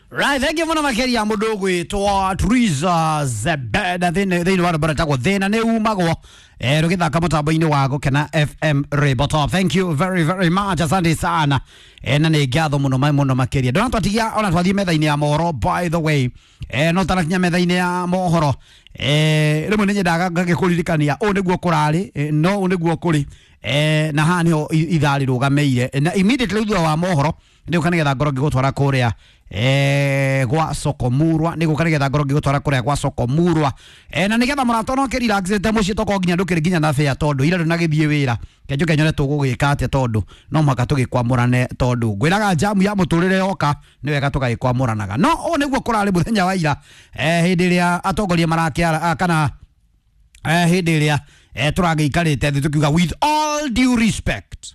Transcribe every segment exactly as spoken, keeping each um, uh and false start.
Right, thank you muno makeria mundu gwitwo Teresa Zebeda thini thini wa rwimbo rwĩtagwo thina nĩ umagwo eh rũgĩthaka mũtambo-inĩ wa Gũkena F M Rainbow Top. Thank you very very much, asante sana eh na nĩ ngatho mũno mũno makeria. Ndona twatigia ona twathiĩ metha-inĩ ya mohoro, by the way eh no tarakinya metha-inĩ ya mohoro eh rĩmwe nĩ nyendaga ngagĩkũririkania ũũ nĩguo kũrarĩ eh, no ũũ nĩguo kũrĩ eh na haha nĩho ithaa rĩrũgamĩire na immediately thutha wa mohoro nĩ gũka nĩgetha ngorwo ngĩgũtwara kũrĩa eh gwa Sokomurwa nĩ gũka nĩgetha ngorwo ngĩgũtwara kũrĩa gwa Sokomurwa eh na nĩgetha mũrata no kĩrelaxĩte mũciĩ tokorwo nginya ndũkĩrĩ nginya na bĩa tondũ ira ndũnagĩthiĩ wĩra kenjuke nyone tũgũgĩka atĩa tondũ no mũhaka tũgĩkwamũrane tondũ ngwĩraga jamu ya mũtũrĩre yoka nĩ wega tũgagĩkwamũranaga no ũũ nĩguo kũrarĩ mũthenya wa ira eh hĩndĩ ĩrĩa atongoria marakĩara kana eh hĩndĩ ĩrĩa eh tũragĩikarĩte thĩ tũkiuga with all due respect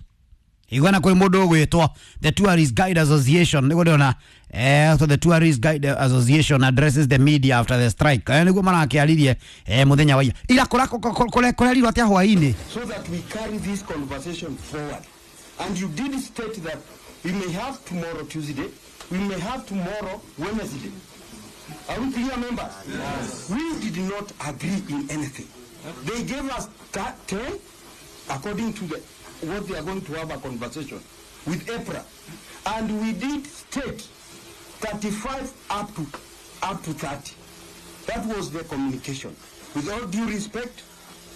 igwana kuri mundu ugwitwo the Tourist Guide Association niguo ndona eh so the Tourist Guide Association addresses the media after the strike eh niguo marakiaririe eh muthenya wa ira ira kura kurerirwo atia hwaini so that we carry this conversation forward. And you did state that we may have tomorrow Tuesday, we may have tomorrow Wednesday. Are we clear, members? Yes. We did not agree in anything. They gave us ten according to the what they are going to have a conversation with EPRA, and we did state thirty-five up to up to thirty. That was the communication. With all due respect,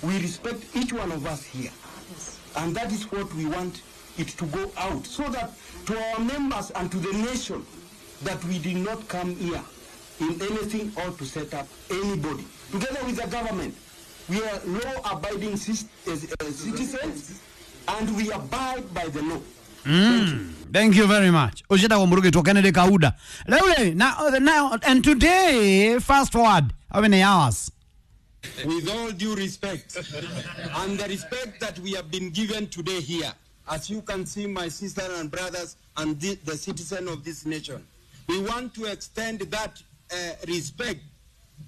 we respect each one of us here. Yes. And that is what we want it to go out, so that to our members and to the nation that we did not come here in anything or to set up anybody. Together with the government, we are law-abiding citizens and we abide by the law. Mm. Thank you very much. Ushita Murugi Kennedy Kauda. Lele, now, now, and today, fast forward, how many hours? With all due respect, and the respect that we have been given today here, as you can see, my sisters and brothers and the, the citizen of this nation, we want to extend that uh, respect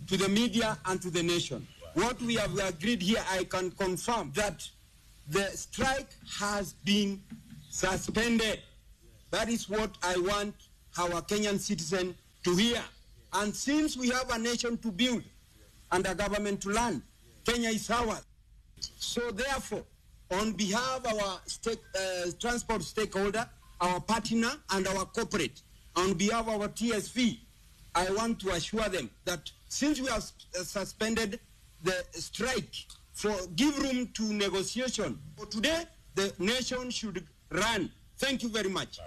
to the media and to the nation. What we have agreed here, I can confirm that the strike has been suspended. That is what I want our Kenyan citizen to hear. And since we have a nation to build and a government to learn, Kenya is ours. So therefore, on behalf of our stake, uh, transport stakeholder, our partner, and our corporate, on behalf of our T S V, I want to assure them that since we have suspended the strike for give room to negotiation, for today, the nation should run. Thank you very much.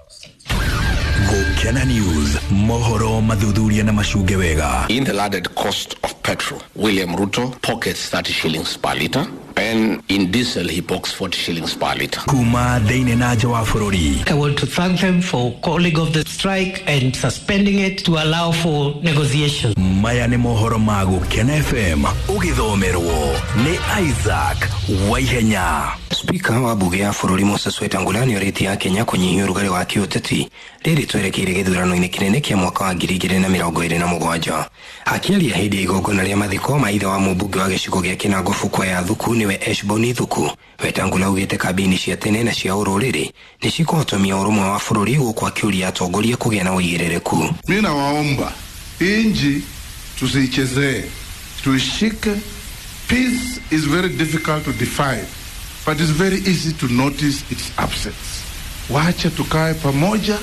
Gukena News, mohoro mathuthuria na macunge wega. In the landed cost of petrol, William Ruto pockets thirty shillings per liter, and in diesel he pockets forty shillings per liter. Kuma thĩinĩ na nja wa bũrũri. I want to thank them for calling off the strike and suspending it to allow for negotiations. Maya nĩ mohoro ma Gukena F M ũgĩthomerwo nĩ Isaac Waihenya. Spika wa bunge ya bũrũri Moses Wetangula nĩorĩtie Kenya kũnyihia ũrugarĩ wa kĩũteti rĩrĩ twerekeire gĩthurano-inĩ kĩnene kĩa mwaka wa ngiri igĩrĩ na mĩrongo ĩrĩ na mũgwanja. Akĩaria hĩndĩ ya igongona rĩa mathiko ma ithe wa mũmbunge wa gĩcigo gĩa Kinango Fukwe ya Thuku nĩwe Eshboni Thuku, Wetangula augĩte kambĩini cia tene na cia ũrũrĩrĩ nĩ cikũhotomia ũrũmwe wa bũrũri gũkũ akĩũria atongoria kũgĩa na ũigĩrĩrĩku. Mimi nawaomba inji tusiichezee, tuishike. Peace is very difficult to define, but it's very easy to notice its absence. Wacha tukae pamoja.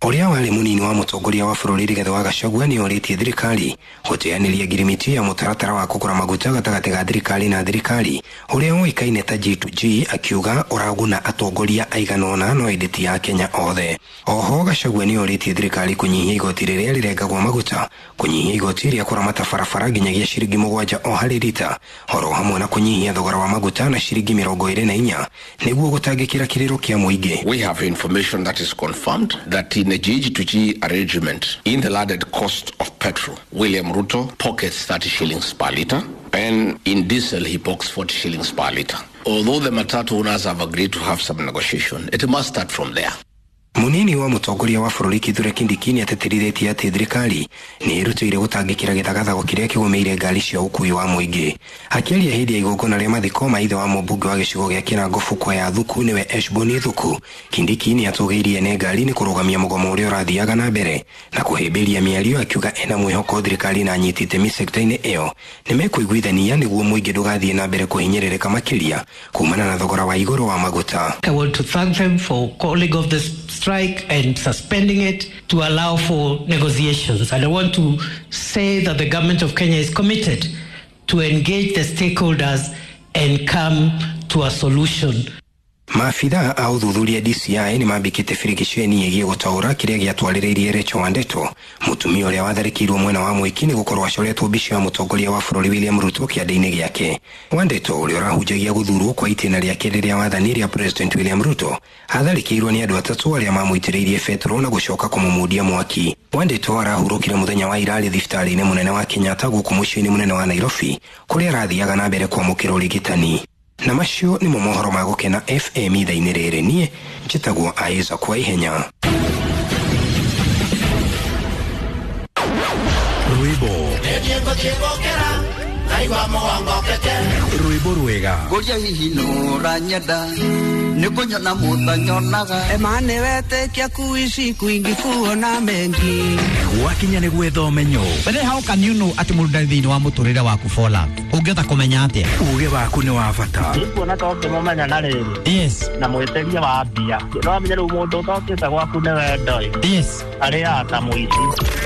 Ũrĩa warĩ mũnini wa mũtongoria wa bũrũri Rigathĩ wa Gachagua nĩorĩtie thirikari gũteanĩria ngirimiti ya mũtaratara wa kũgũra maguta gatagatĩ ga thirikari na thirikari ũrĩa ũĩkaine ta G to G, akiuga ũraguna atongoria aigana ũna no ĩndĩ ti a Kenya othe. Oho Gachagua nĩorĩtie thirikari kũnyihia igoti rĩrĩa rĩrengagwo maguta, kũnyihia igoti rĩa kũramata barabara nginyagia ciringi mũgwanja o harĩ rita, oro hamwe na kũnyihia thogora wa maguta na ciringi mĩrongo ĩrĩ na inya nĩguo gũtangĩkĩra kĩrĩro kĩa mũingĩ. We have information that is confirmed that in a G to G arrangement, in the landed cost of petrol, William Ruto pockets thirty shillings per liter, and in diesel he pockets forty shillings per liter. Although the matatu owners have agreed to have some negotiation, it must start from there. Munini wa mutongoria wa bũrũri Kithure Kindiki nĩatĩtĩrithĩtie atĩ thirikari nĩ ĩrutĩire gũtangĩkĩra gĩthagathago kĩrĩa kĩgũmĩire ngari cia ũkuui wa mũingĩ. Akĩaria hĩndĩ ya igongona rĩa mathiko ma ithe wa mũmbunge wa gĩcigo gĩa Kĩrango Bukwa ya Thuku nĩwe Eshboni Thuku, Kindiki nĩatũgĩirie ene ngari nĩ kũrũgamia mũgomo ũrĩa ũrathiaga na mbere na kũhĩmbĩria mĩario, akiuga ena mwĩhoko thirikari na anyiti itemi sekta-inĩ ĩyo nĩmekũiguithania nĩguo mũingĩ ndũgathiĩ na mbere kũhinyĩrĩrĩka makĩria kumana na thogora wa igũrũ wa maguta. I want to thank them for calling off the strike and suspending it to allow for negotiations. And I want to say that the government of Kenya is committed to engage the stakeholders and come to a solution. Maabithaa a ũthuthuria D C I nĩmambĩkĩte birigiceni ĩgiĩ gũtaũra kĩrĩa gĩatwarĩrĩirie Rachel Wandeto, mũtumia ũrĩa watharĩkĩirwo mwena wa Mwĩki nĩ gũkorwo acoretwo mbica ya mũtongoria wa bũrũri William Ruto kĩande-inĩ gĩake. Wandeto ũrĩa ũrahunjagia gũthurwo kwa itĩna rĩake rĩrĩa wathani rĩa President William Ruto atharĩkĩirwo nĩ andũ atatũ arĩa mamũitĩrĩirie betũrũ na gũcoka kũmũmundia mwaki. Wandeto arahurũkire mũthenya wa ira arĩ thibitarĩ-inĩ mũnene wa Kenyatta gũkũ mũciĩ-inĩ mũnene wa Nairobi kũrĩa arathiaga na mbere kwamũkĩra ũrigitani. Na macio nĩmo mohoro ma Gũkena F M ithaa-inĩ rĩrĩ. Niĩ njĩtagwo Isaac Waihenya. Rwĩmbo rwĩmbo rwega ngũria hihi nũranyenda nĩ kũnyona mũtanyonaga ema nĩwetĩkia kuici kwingi kuona mengi gwakinya nĩ gwetha ũmenyo. But how can you know atĩ mũndũ ndarĩ thĩinĩ wa mũtũrĩre waku for love? Ũngĩhota kũmenya atĩa? Uge waku nĩ wa bata. Nĩkuona ta ũngĩmũmenya na rĩrĩ. Yes. Na mwĩtĩria wa mbia. No amenye rĩu mũndũ ũtokĩte gwaku nĩ wendo ĩ. Yes. Arĩaga ta mũici.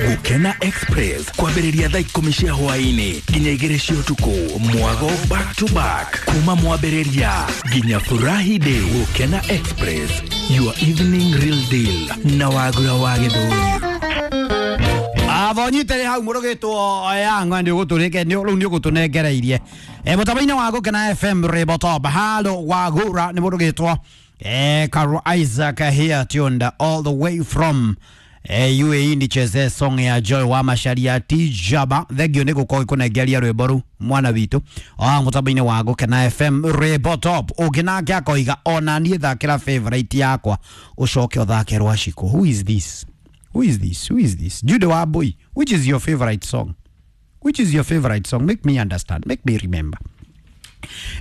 Gũkena Express kwambĩrĩria thaa ikũmi cia hwaĩ-inĩ nginya igĩrĩ cia ũtukũ, mwago back to back kuma mwambĩrĩria nginya furahi day. Gũkena Express, your evening real deal na Wagura wa Gĩthũri. Avonyite hau mũrũgĩtwo yang'wa nĩ ũgũtũrĩke nĩ rĩu nĩ ũgũtũnengereirie e mũtambo-inĩ wa Gũkena F M Rĩmbo Top halo Wagura nĩ mũrũgĩtwo eh Karo Isaac here tuned all the way from eh U A E nicheze song ya Joy wa Macharia Tijaba. Thengio nĩ gũkorwo gĩkũnengeria rwĩmbo rũu mwana witũ o mũtambo-inĩ wa Gũkena F M Rĩmbo Top. Ũngĩ nake akoiga ona niĩ thakĩra favorite yakwa ũcoke ũthake Rwacikũ. Who is this? Who is this? Who is this? Jude Wabui, which is your favorite song? Which is your favorite song? Make me understand. Make me remember.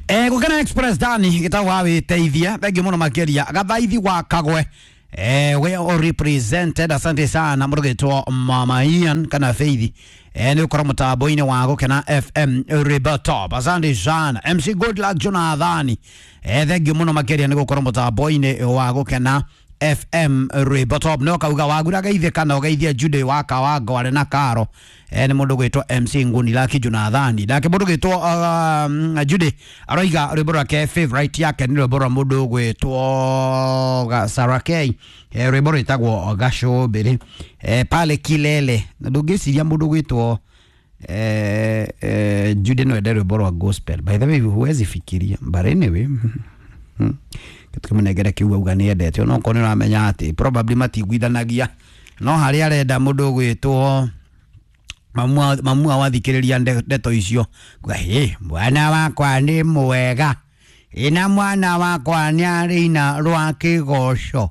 Eh, Gũkena Express Dani gĩtagwo wĩteithia. Thank you mũno makĩria. Gathaithi wa Kagwe. Eh, we all represented. Asante sana mũrũgĩtwo Mama Ian kana Faith. Eh, nĩ ũkora mũtambo-inĩ wa Gũkena F M Rĩmbo Top. Asante sana. M C Goodluck Jonathan. Eh, thank you mũno makĩria nĩ gũkorwo mũtambo-inĩ wa Gũkena F M Rĩmbo Top. No kauga Wagura geithie kana ũgeithie Jude wa Kawango arĩ na Karo. Eh, nĩ mũndũ gwĩtwo M C Nguni Lucky Jonathan. Nake mũndũ gwĩtwo um, Jude aroiga rwĩmbo rwake favorite yake nĩ rwĩmbo rwa mũndũ gwĩtwo Sarah K. Eh, rwĩmbo rwĩtagwo Gacũmbĩrĩ. Eh, pale Kilele. Na ndũngĩciria mũndũ gwĩtwo eh, eh, Jude no ende rwĩmbo rwa gospel. By the way, huwezi fikiria. But anyway, hmm. Tukimunengere kiu auga nĩ endete ona okorwo nĩ ũramenya atĩ probably matiguithanagia no harĩa arenda mũndũ gwĩtwo mamua mamua wathikĩrĩria ndeto icio kuga hĩ mwana wakwa nĩ mwega ĩna mwana wakwa nĩ arĩina rwa kĩgoco.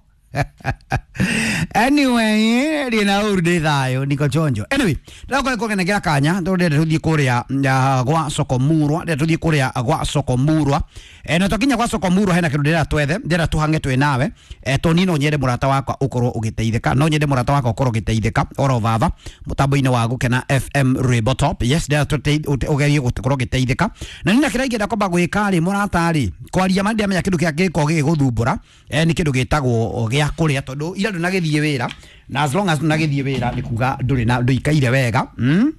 Anyway, rina ũru ndĩ thayũ niko chonjo. Anyway, ndĩrakorwo kũnengera kanya tondũ ndĩrenda tũthiĩ kũrĩa gwa Soko Murwa, ndĩrenda tũthiĩ kũrĩa gwa Soko Murwa. Eh, na twakinya gwa Soko Murwa hena kĩndũ ndĩrenda twethe, ndĩrenda tũhange twĩ nawe. Eh, tondũ niĩ no nyende mũrata wakwa ũkorwo ũgĩteithĩka, no nyende mũrata wakwa ũkorwo ũgĩteithĩka oro vava mũtambo-inĩ wa Gũkena F M Rĩmbo Top. Yes, ndĩrenda ũgerie gũkorwo ũgĩteithĩka. Na niĩ na kĩrĩa ingĩenda kwamba gwĩka rĩ mũrata rĩ, kwaria ma ndiamenya kĩndũ kĩrĩa gĩkoragwo gĩgĩgũthumbũra, eh, nĩ kĩndũ gĩtagwo gĩa kũrĩa tondũ ira ndũnagĩthiĩ wĩra na as long as ndũnagĩthiĩ wĩra nĩ kuga ndũrĩ na ndũikaire wega mm?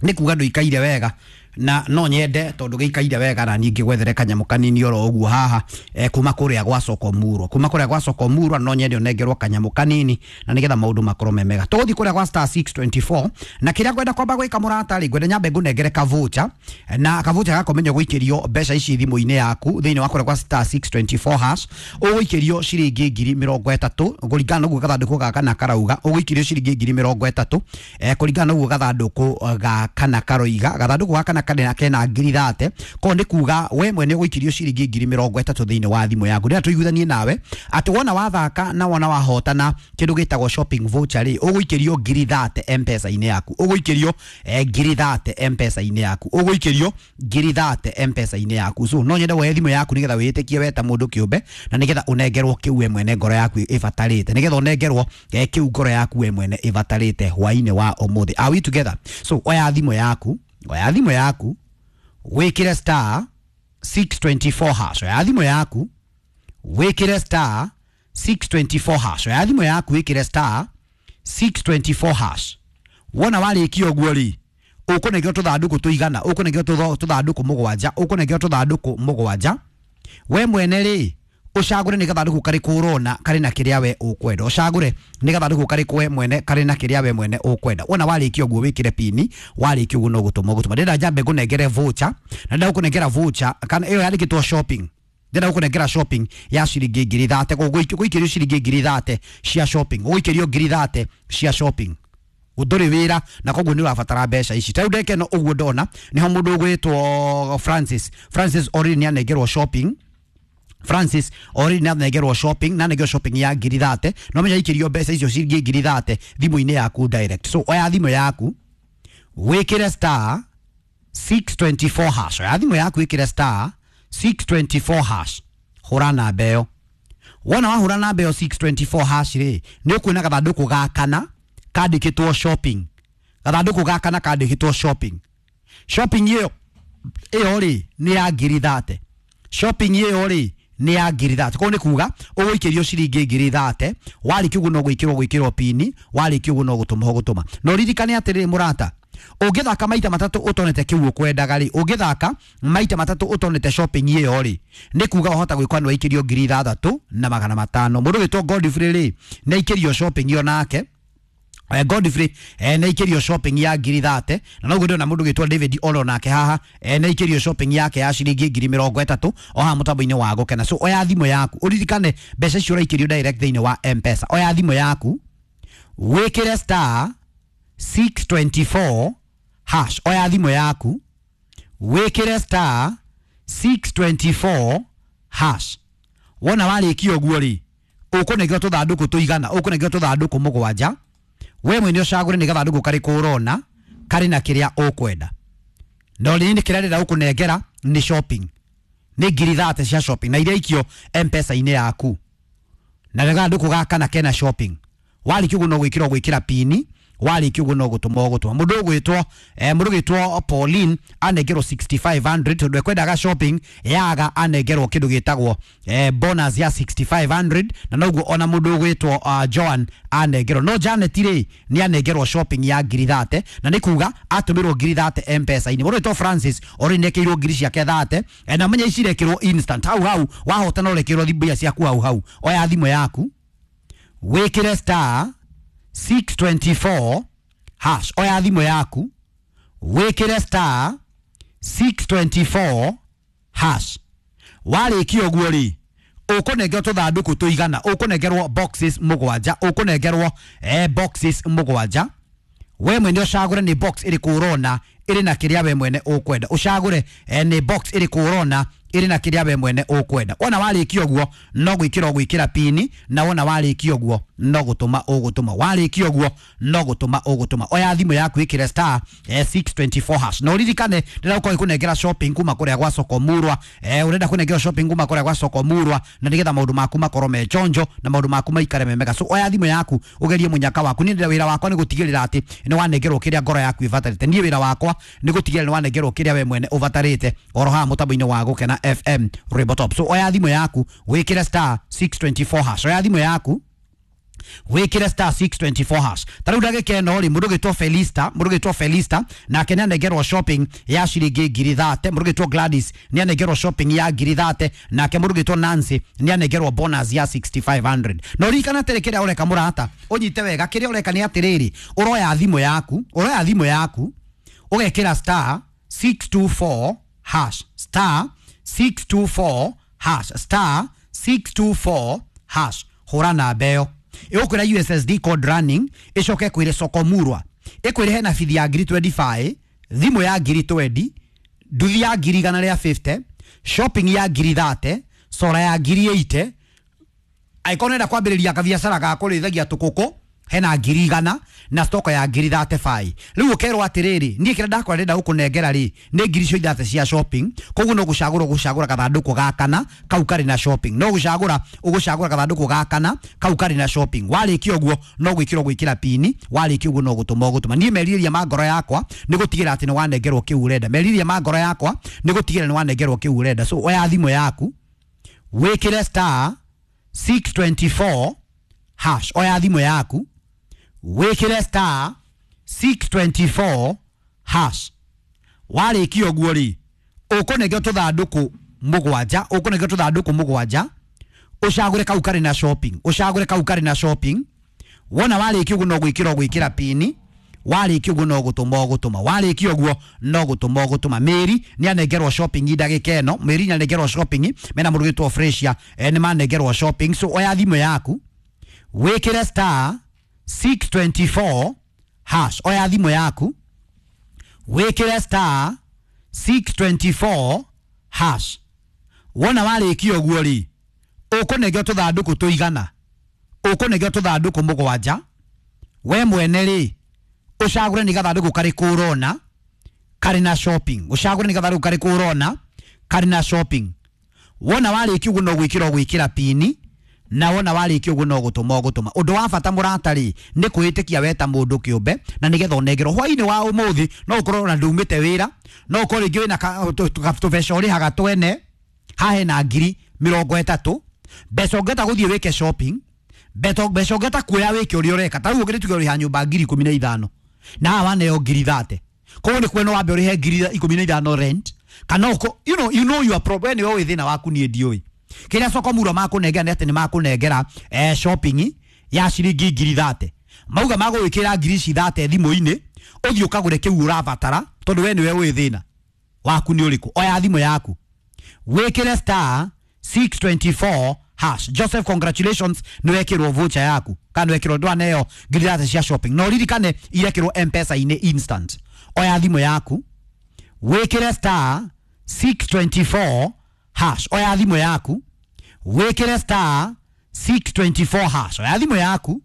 Nĩ kuga ndũikaire wega na no nyende tondu gĩikaire wega na niĩ ngĩgwethere kanyamũ kanini oro ũguo haha eh, kuma kũrĩa gwa Soko Murwa, kuma kũrĩa gwa Soko Murwa no nyende ũnengerwo kanyamũ kanini na nĩgetha maũndũ makorwo me mega. Tũgũthiĩ kũrĩa gwa star six twenty-four na kĩrĩa ngwenda kwamba gwĩka mũrata rĩ, ngwenda nyambe ngũnengere kavucha na kavucha gako menyo gũikĩrio mbeca ici thimũ-inĩ yaku thĩinĩ wa kũrĩa gwa star six twenty-four hash ũgũikĩrio ciringi ngiri mĩrongo ĩtatũ kũringana na ũguo gathandũkũ gaka na karauga, ũgũikĩrio ciringi ngiri mĩrongo ĩtatũ eh, kũringana na ũguo gathandũkũ gaka na karoiga, gathandũkũ gaka na kana kena ngiri thate ko nĩ kuga we mwene ũgũikĩrio ciringi ngiri mĩrongo ĩtatũ thĩinĩ wa thimũ yaku. Ndĩrenda tũiguithanie nawe atĩ wona wathaka na wona wahotana kĩndũ gĩtagwo shopping voucher rĩ, ũgũikĩrio ngiri thate M-Pesa-inĩ yaku, ũgũikĩrio eh, ngiri thate M-Pesa-inĩ yaku, ũgũikĩrio ngiri thate M-Pesa-inĩ yaku. So no nyende woe thimũ yaku nĩgetha wĩtĩkie we ta mũndũ kĩũmbe na nĩgetha ũnengerwo kĩu we mwene ngoro yaku ĩbatarĩte, nĩgetha ũnengerwo eh, kĩu ngoro yaku we mwene ĩbatarĩte hwainĩ wa ũmũthĩ. Are we together? So oya thimũ yaku, oya thimũ yaku wĩkĩre star six twenty-four hash. Oya thimũ yaku wĩkĩre star six twenty-four hash. Oya thimũ yaku wĩkĩre star six twenty-four hash. Wona warĩkia ũguo rĩ, ũkũnengerwo tũthandũkũ tũigana, ũkũnengerwo tũthandũkũ mũgwanja, ũkũnengerwo tũthandũkũ mũgwanja. We mwene rĩ, ũcagũre nĩ gathandũkũ karĩkũ ũrona karĩ na kĩrĩa we ũkwenda, ũcagũre nĩ gathandũkũ karĩkũ we mwene karĩ na kĩrĩa we mwene ũkwenda. Wona warĩkia ũguo wĩkĩre pini, warĩkia ũguo no gũtũma ũgũtũma. Ndĩrenda njambe ngũnengere voucher, na ndĩrenda gũkũnengera voucher kana ĩyo yandĩkĩtwo shopping. Ndĩrenda gũkũnengera shopping ya ciringi ngiri thate, gũikĩrio ciringi ngiri thate cia shopping, gũikĩrio ngiri thate cia shopping. Ndũrĩ wĩra na koguo nĩ ũrabatara mbeca ici. Ta rĩu ndeke no ũguo ndona nĩho mũndũ ũgwĩtwo Francis, Francis already nĩ anengerwo shopping. Francis already nĩ anengerwo shopping na anengerwo shopping ya ngiri thate, no menya ikĩrio mbeca icio ciringi ngiri thate thimũ-inĩ yaku direct. So oya thimũ yaku wĩkĩre star six twenty-four hash. Oya thimũ yaku wĩkĩre star six twenty-four hash, hũra namba ĩyo. Wona wahũra namba ĩyo six twenty-four hash rĩ, nĩ ũkuona gathandũkũ ga kana kandĩkĩtwo shopping, gathandũkũ ga kana kandĩkĩtwo shopping. Shopping ĩyo ĩyo rĩ nĩ ya ngiri thate, shopping ĩyo rĩ nĩ ya ngiri thate. Koguo nĩ kuga ũgũikĩrio ciringi ngiri thate, warĩkia ũguo no gwĩkĩrwo gwĩkĩrwo pini, warĩkia ũguo no gũtũma ũgũtũma. Na ũririkane atĩrĩrĩ mũrata, ũngĩthaka maita matatũ ũtonete kĩu ũkwendaga rĩ, ũngĩthaka maita matatũ ũtonete shopping ĩyo rĩ, nĩ kuga wahota gwĩkwa nĩ waikĩrio ngiri ithathatũ na magana matano. Mũndũ wĩtwo Godfrey rĩ, nĩ aikĩrio shopping ĩyo nake. Godfrey eh, nĩ aikĩrio shopping ya ngiri thate, na noguo ndĩrona mũndũ wĩtwo David Olo nake haha eh, nĩ aikĩrio shopping yake ya ciringi ngiri mĩrongo ĩtatũ o haha mũtambo-inĩ wa Gũkena. So oya thimũ yaku ũririkane mbeca icio ũraikĩrio direct thĩinĩ wa M-Pesa. Oya thimũ yaku wĩkĩre star six twenty-four hash. Oya thimũ yaku wĩkĩre star six twenty-four hash. Wona warĩkia ũguo rĩ, ũkũnengerwo tũthandũkũ tũigana, ũkũnengerwo tũthandũkũ mũgwanja. We mwene ũcagũre nĩ gathandũkũ karĩkũ ũrona karĩ na kĩrĩa ũkwenda. No rĩrĩ nĩ kĩrĩa ndĩrenda gũkũnengera nĩ shopping, nĩ ngiri thate cia shopping na iria ikio M-Pesa-inĩ yaku, na gathandũkũ gaka na kena shopping. Warĩkia ũguo no gwĩkĩrwo gwĩkĩra pini, warĩkia ũguo no gũtũma ũgũtũma. Mũndũ ũgwĩtwo eh, mũndũ ũgwĩtwo Pauline anengerwo sixty-five hundred tondũ ekwendaga shopping yaga anengerwo kĩndũ gĩtagwo eh, bonus ya sixty-five hundred, na noguo ona mũndũ ũgwĩtwo uh, Joan anengerwo. No Janet rĩ nĩ anengerwo shopping ya ngiri thate, na nĩ kuga atũmĩrwo ngiri thate M-Pesa-inĩ. Mũndũ ũgwĩtwo Francis already nĩekĩirwo ngiri ciake thate, eh, na menya ici irekĩrwo instant hau hau, wahotana ũrekĩrwo mbia ciaku hau hau. Oya thimũ yaku wĩkĩre star six twenty-four hash. Oya thimũ yaku wĩkĩre star six twenty-four hash. Warĩkia ũguo rĩ, ũkũnengerwo tũthandũkũ tũigana, ũkũnengerwo boxes mũgwanja, ũkũnengerwo eh, boxes mũgwanja. We mwene ũcagũre nĩ box ĩrĩkũ ũrona ĩrĩ na kĩrĩa we mwene ũkwenda, ũcagũre eh, nĩ box ĩrĩkũ ũrona ĩrĩ na kĩrĩa we mwene ũkwenda. Wona warĩkia ũguo no gwĩkĩra ũgwĩkĩra pini, na wona warĩkia ũguo no gũtũma ũgũtũma. Warĩkia ũguo no gũtũma ũgũtũma. Oya thimũ yaku ĩkĩre star eh, six twenty-four hash. Na ũririkane ndĩrenda gũkorwo ngĩkũnengera shopping kuma kũrĩa gwa Soko Murwa. Eh, ũrenda kũnengerwo shopping kuma kũrĩa gwa Soko Murwa na nĩgetha maũndũ maku makorwo me chonjo na maũndũ maku maikare me mega. So oya thimũ yaku ũgerie mũnyaka waku. Niĩ ndĩra wĩra wakwa nĩ gũtigĩrĩra atĩ nĩ wanengerwo kĩrĩa ngoro yaku ĩbatarĩte. Niĩ wĩra wakwa nĩ gũtigĩrĩra nĩ wanengerwo kĩrĩa we mwene ũbatarĩte oro haha mũtambo-inĩ wa Gũkena F M Rwĩmbo Top. So oya thimũ yaku wĩkĩre star six twenty-four hash. Oya thimũ yaku wĩkĩre star six twenty-four hash. Ta rĩu ndagĩka ĩno rĩ, mũndũ ũgwĩtwo Felista, mũndũ ũgwĩtwo Felista nake nĩ anengerwo shopping ya ciringi ngiri thate. Mũndũ ũgwĩtwo Gladys nĩ anengerwo shopping ya ngiri thate, nake mũndũ ũgwĩtwo Nancy nĩ anengerwo bonus ya sixty-five hundred. Na ũririkane atĩrĩ, kĩrĩa ũreka mũrata, ũnyite wega, kĩrĩa ũreka nĩ atĩrĩrĩ, ũroya thimũ yaku, ũroya thimũ yaku ũgekĩra star six two four hash, star six two four hash, star six two four hash. Hũra namba ĩyo, ĩgũkwĩra U S S D code running, ĩcoke ĩkwĩre Soko Murwa, ĩkwĩre hena bithi ya ngiri twenty-five, thimũ ya ngiri twenty, Nduthi ya ngiri igana rĩa fifty, shopping ya ngiri thate, sora ya ngiri eighty. Angĩkorwo nĩũrenda kwambĩrĩria kabiacara ga kũrĩithagia tũkũkũ hena ngiri igana na stoko ya ngiri thate five. Rĩu ũkerwo atĩrĩrĩ, niĩ kĩrĩa ndakora ndĩrenda gũkũnengera rĩ nĩ ngiri icio ithatũ cia shopping, koguo no gũcagũra ũgũcagũra gathandũkũ ga kana kau karĩ na shopping, no gũcagũra ũgũcagũra gathandũkũ ga kana kau karĩ na shopping. Warĩkia ũguo no gwĩkĩra ũgwĩkĩra pini, warĩkia ũguo no gũtũma ũgũtũma. Niĩ merirĩria ma ngoro yakwa nĩ gũtigĩra atĩ nĩ wanengerwo kĩu ũrenda. Merirĩria ma ngoro yakwa nĩ gũtigĩra nĩ wanengerwo kĩu ũrenda. So oya thimũ yaku wĩkĩre star six twenty-four hash. Oya thimũ yaku wĩkĩre star six twenty-four hash. Warĩkia ũguo rĩ, ũkũnengera tũthandũkũ mũgwanja, ũkũnengera tũthandũkũ mũgwanja, ũcagũre kau karĩ na shopping, ũcagũre kau karĩ na shopping. Wona warĩkia ũguo no gwĩkĩra ũgwĩkĩra pini, warĩkia ũguo no gũtũma ũgũtũma, warĩkia ũguo no gũtũma ũgũtũma. Mary nĩ anengerwo shopping ndagĩka ĩno, Mary nĩ anengerwo shopping mena mũndũ wĩtwo Fresia, eh, nĩ manengerwo shopping. So oya thimũ yaku wĩkĩre star six twenty-four hash. Oya thimũ yaku wĩkĩre star six twenty-four hash. Wona warĩkia ũguo rĩ, ũkũnengera tũthandũkũ tũigana, ũkũnengera tũthandũkũ mũgwanja. We mwene rĩ, ũcagũre nĩ gathandũkũ karĩkũ ũrona karĩ na shopping, ũcagũre nĩ gathandũkũ karĩkũ ũrona karĩ na shopping. Wona warĩkia ũguo no gwĩkĩra ũgwĩkĩra pini, na wona warĩkia ũguo no gũtũma ũgũtũma. Ũndũ wa bata mũrata rĩ, nĩ kwĩĩtĩkia we ta mũndũ kĩũmbe, na nĩgetha ũnengerwo hwainĩ wa ũmũthĩ. No ũkorwo na ndumĩte wĩra, no ũkorwo rĩngĩ wĩna tũbeca ũrĩhaga twene, haha hena ngiri mĩrongo ĩtatũ, mbeca ũngĩhota gũthiĩ wĩke shopping, mbeca ũngĩhota kuoya wĩke ũrĩa ũreka. Ta rĩu ũngĩtuĩka ũrĩha nyũmba ngiri ikũmi na ithano, na haha waneo ngiri thate, koguo nĩ kuona wambe ũrĩhe ngiri ikũmi na ithano rent, kana ũko, you know, you know your problem, nĩwe wĩ thĩna waku, niĩ ndiũĩ. Kĩrĩa soko muro makũnengera nĩ atĩ nĩ makũnengera eh, shopping ya ciringi ngiri thate, mauga magũgwĩkĩra ngiri ici thate thimũ-inĩ, ũthiĩ ũkagũre kĩu ũrabatara, tondũ we nĩwe wĩ thĩna waku nĩ ũrĩkũ. Oya thimũ yaku wĩkĩre star six twenty-four hash. Joseph, congratulations, nĩ wekĩrwo voucher yaku, kana nĩ wekĩrwo ndwaneo ngiri thate cia shopping. No ririkane irekĩrwo M-Pesa-inĩ instant. Oya thimũ yaku wĩkĩre star six twenty-four hash. Oya thimũ yaku wĩkĩre star six twenty-four hash. Oya thimũ yaku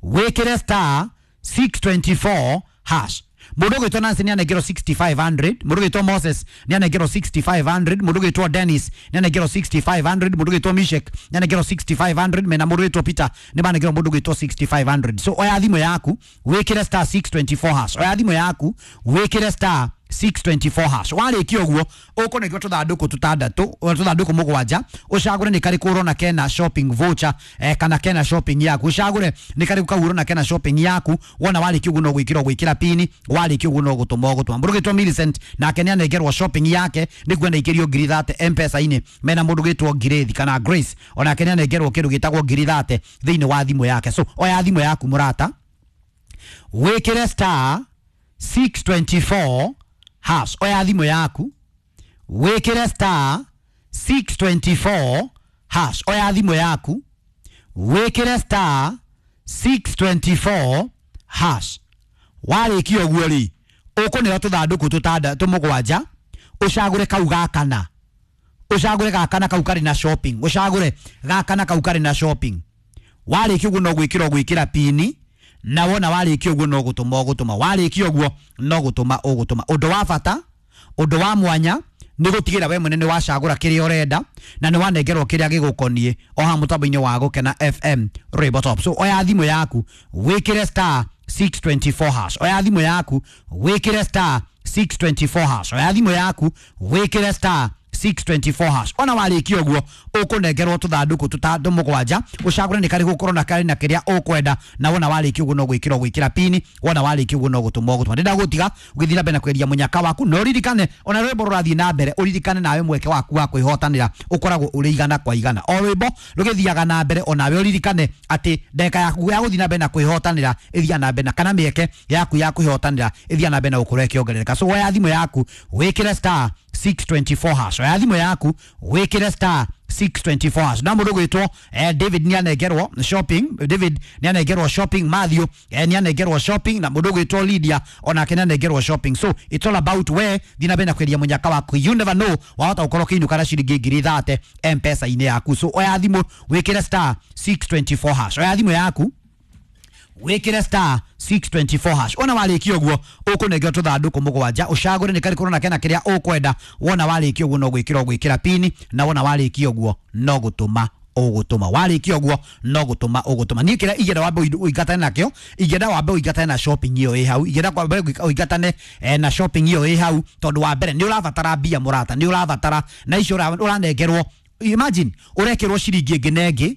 wĩkĩre star six twenty-four hash. Mũndũ ũgwĩtwo Nancy nĩ anengerwo sixty-five hundred, mũndũ ũgwĩtwo Moses nĩ anengerwo sixty-five hundred, mũndũ ũgwĩtwo Dennis nĩ anengerwo sixty-five hundred, mũndũ ũgwĩtwo Mishek nĩ anengerwo sixty-five hundred, mena mũndũ ũgwĩtwo Peter nĩ manengerwo mũndũ ũgwĩtwo sixty-five hundred. So oya thimũ yaku wĩkĩre star six twenty-four hash. Oya thimũ yaku wĩkĩre star six twenty-four hash. Warĩkia ũguo ũkũnengera tũthandũkũ tũtandatũ, tũthandũkũ mũgwanja, ũcagũre nĩ karĩkũ ũrona kena shopping voucher, eh, kana kena shopping yaku, ũcagũre nĩ karĩkũ kau ũrona kena shopping yaku. Wona warĩkia ũguo no gwĩkĩra ũgwĩkĩra pini, warĩkia ũguo no gũtũma ũgũtũma. Mũndũ ũgwĩtwo Millicent nake nĩ anengerwo shopping yake, nĩ kuona ikĩrio ngiri thate M-Pesa-inĩ. Mena mũndũ ũgwĩtwo Ngirĩthi kana Grace, onake nĩ anengerwo kĩndũ gĩtagwo ngiri thate thĩinĩ wa thimũ yake. So oya thimũ yaku mũrata, wĩkĩre star six twenty-four hash. Oya thimũ yaku wĩkĩre star six twenty-four hash. Oya thimũ yaku wĩkĩre star six twenty-four hash. Warĩkia ũguo rĩ, ũkũneo tũthandũkũ tũtandatũ mũgwanja, ũcagũre kau ga kana, ũcagũre ga kana kau karĩ na shopping, ũcagũre ga kana kau karĩ na shopping. Warĩkia ũguo no gwĩkĩra ũgwĩkĩra pini, na wona warĩkia ũguo no gũtũma ũgũtũma, warĩkia ũguo no gũtũma ũgũtũma. Ũndũ wa bata, ũndũ wa mwanya nĩ gũtigĩra we mwene nĩ wacagũra kĩrĩa ũrenda na nĩ wanengerwo kĩrĩa gĩgũkoniĩ o haha mũtambo-inĩ wa Gũkena F M Rainbow Top. So oya thimũ yaku wĩkĩre star six twenty-four hash. Oya thimũ yaku wĩkĩre star six twenty-four hash. Oya thimũ yaku wĩkĩre star six twenty-four hash. Ona warĩkia ũguo ũkũnengerwo tũthandũkũ tũtandũ mũgwanja, ũcagũre nĩ karĩkũ ũkorwo na karĩ na kĩrĩa ũkwenda, na wona warĩkia ũguo no gwĩkĩra ũgwĩkĩra pini, wona warĩkia ũguo no gũtũma ũgũtũma. Ndĩrenda gũtiga ũgĩthiĩ na mbere na kwendia mũnyaka waku, na ũririkane ona rwĩmbo rũrathiĩ na mbere, ũririkane nawe mweke waku wa kwĩhotanĩra ũkoragwo ũrĩ igana kwa igana. O rwĩmbo rũgĩthiaga na mbere, onawe ũririkane atĩ ndagĩka yaku ya gũthiĩ na mbere na kwĩhotanĩra ĩthiaga na mbere, na kana mĩeke yaku ya kwĩhotanĩra ĩthiaga na mbere na gũkorwo ĩkĩongerereka. So oya thimũ yaku wĩkĩre star six twenty-four hash. Oya thimũ yaku wĩkĩre star six twenty-four hash. Na mũndũ gwĩtwo eh, David nĩanengerwo shopping, David nĩanengerwo shopping, Matthew eh, nĩanengerwo shopping, na mũndũ gwĩtwo Lydia onake nĩanengerwo shopping. So it's all about where thiĩ na mbere na kwendia mũnyaka waku. You never know, wahota gũkorwo ũkĩinũka na ciringi ngiri thate M-Pesa-inĩ yaku. So oya thimũ wĩkĩre star six twenty-four hash, oya thimũ yaku wikire star six twenty-four hash. Ona warĩkia ũguo ũkũnengerwo tũthandũkũ mũgwanja, ũcagũre nĩ karĩkũ ũrona kena kĩrĩa ũkwenda. Wona warĩkia ũguo no gwĩkĩra ũgwĩkĩra pini, na wona warĩkia ũguo no gũtũma ũgũtũma. Warĩkia ũguo no gũtũma ũgũtũma. Niĩ kĩrĩa ingĩenda wambe ũingatane nakĩo, ingĩenda wambe ũingatane na shopping ĩyo ĩ hau, ingĩenda wambe ũingatane na shopping ĩyo ĩ hau, tondũ wa mbere nĩ ũrabatara mbia mũrata, nĩ ũrabatara na icio ũranengerwo. Imagine ũrekĩrwo ciringi ĩngĩ na ĩngĩ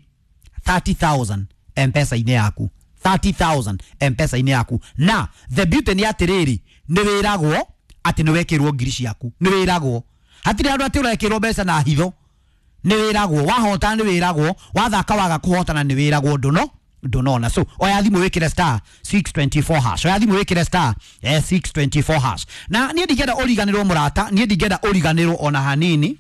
thirty thousand M-Pesa-inĩ yaku, thirty thousand M-Pesa-inĩ yaku. Na the beauty nĩ atĩrĩrĩ, nĩ wĩragwo atĩ nĩ wekĩrwo ngiri ciaku, nĩ wĩragwo, hatirĩ handũ atĩ ũrekĩrwo mbeca na hitho, nĩ wĩragwo wahota, nĩ wĩragwo wathaka, waga kũhotana nĩ wĩragwo ndũno ndũnona. So oya thimũ wĩkĩre star six twenty-four hash, oya thimũ wĩkĩre star eh, six twenty-four hash. Na niĩ ndingĩenda ũriganĩrwo mũrata, niĩ ndingĩenda ũriganĩrwo ona hanini.